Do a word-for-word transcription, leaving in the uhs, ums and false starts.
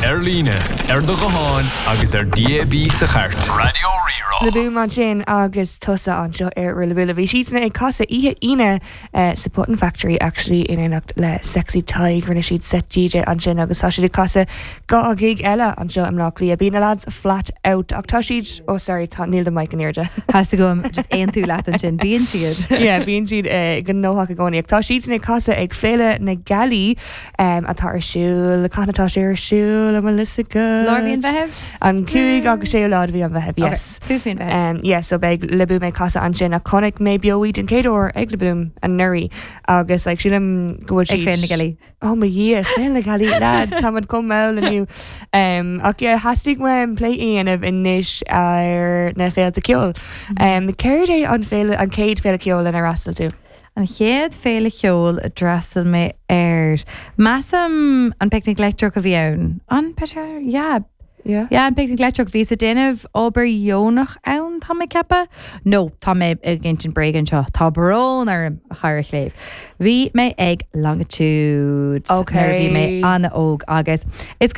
Ar líne, ar do ghuthán agus ar D A B sa chairt. Raidió Rí-Rá. Le Boom ansin agus tusa anseo ar Rillaboom. Bhí siadsan ag casadh oíche Aoine uh, sa Button Factory, actually, in éineacht le Sexy Tadhg. Rinne siad set D J ansin agus tá siad ag casadh dhá ghig eile anseo i mBleá Cliath. Bíonn na lads flat out ach tá siad, oh sorry, tá níl do mic in airde. Theastaigh uaim just aontú leat ansin, bíonn siad. Yeah, bíonn siad uh, gnóthach i gcónaí. Tá siad ag casadh ag Féile na Gealaí um, atá ar siúl, cathain atá sé ar siúl, am lisa go? Lár mhí an Mheithimh? An cúig agus séú lá de mhí an Mheithimh, yes. Tús mhí an Mheithimh. Um, yeah, so beidh Le Boom ag casadh ansin a chonaic mé beo iad den chéad uair ag Le Boom anuraidh agus, like, sílim go bhfuil Ag Féile na Gealaí. Oh mo Dhia, Féile na Gealaí, lad, tá chomh mall inniu. Um, ach yeah, theastaigh uaim plé a dhéanamh anois ar na féilte ceoil. Um, Céard é an féile an chéad féile ceoil inar fhreastail tú? An chéad féile ceoil a d'fhreastail mé air. Measaim an Picnic Leictreach a bhí ann. An Peter? Yeah. Yeah. Yeah, an Picnic Leictreach. Bhí ag déanamh obair dheonach ann, tá mé ag ceapadh. No, tá mé ag insint bréag anseo, tá brón orm, a chara chléibh. Bhí mé ag Longitude Okay. nuair a bhí mé an-óg agus is